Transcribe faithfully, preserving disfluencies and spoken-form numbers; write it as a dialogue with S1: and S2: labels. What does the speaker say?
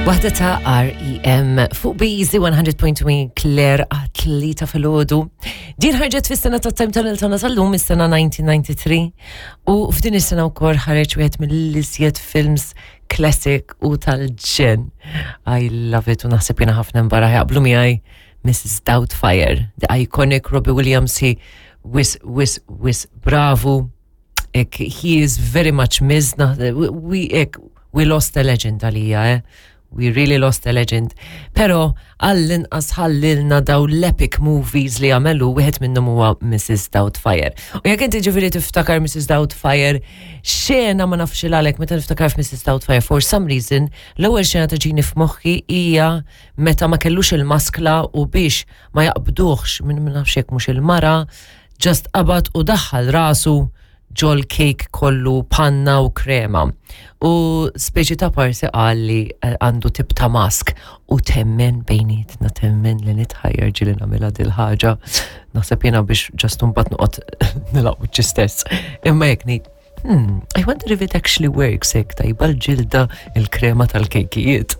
S1: Waħda ta' R E M fuq B Z one hundred point one Claire għat-tlieta filgħodu. Din ħarġet fis-sena ta' Time Tunnel tagħna tal-lum, is-sena elf disa' mija u tnejn u disgħin, u f'din is-sena wkoll ħareġ wieħed mill-iżjed films classic u tal-ġenn. I love it u naħseb jiena ħafna mbara jaqblu miegħi, Missus Doubtfire, the iconic Robbie Williams, he wis, wis, wis, bravu. Ek, he is very much missed. We, ek, we lost a legend għalija, eh? We really lost a legend. Pero għall-inqas ħallilna daw l-epic movies li għamelu, wieħed minnhom huwa Missus Doubtfire. U jekk inti ġifieri tiftakar Missus Doubtfire, xena ma nafx għalek meta niftakar f'Missus Doubtfire, for some reason, l-ewwel xena taġini f'moħħi hija meta ma kellux il-maskla u biex ma jaqbduħx minn ma nafx jekk mhux il-mara, just qabad u daħħal rasu ġol cake kollu panna u krema. U speċi ta' parsi qal li eh, għandu tip ta' mask u temmen bejnietna, temmen li nitħajjar ġili nagħmilha dil-ħaġa. Naħseb jiena biex just mbagħad noqgħod nilgħab stess. Imma jekk ngħid, Hmm, I wonder if it actually works, hekk tajba l-ġilda il-krema tal-kejkijiet.